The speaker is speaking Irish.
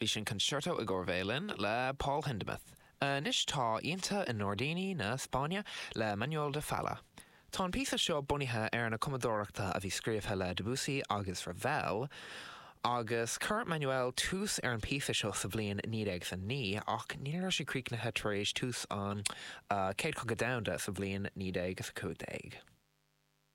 Bhí sin Concerto i gcomhair Veidhlin le Paul Hindemith. Anois tá Oícheanta i nGairdíní na Spáinne le Manuel de Falla. Tá an píosa seo bunaithe ar na cumadóireachta a bhí scríobhtha le Debussy agus Ravel, agus chuir Manuel tús ar an píosa seo sa bhliain 1909 ach ní raibh sé críochnaithe tar éis tús an Chéad Chogadh Domhanda sa bhliain 1915.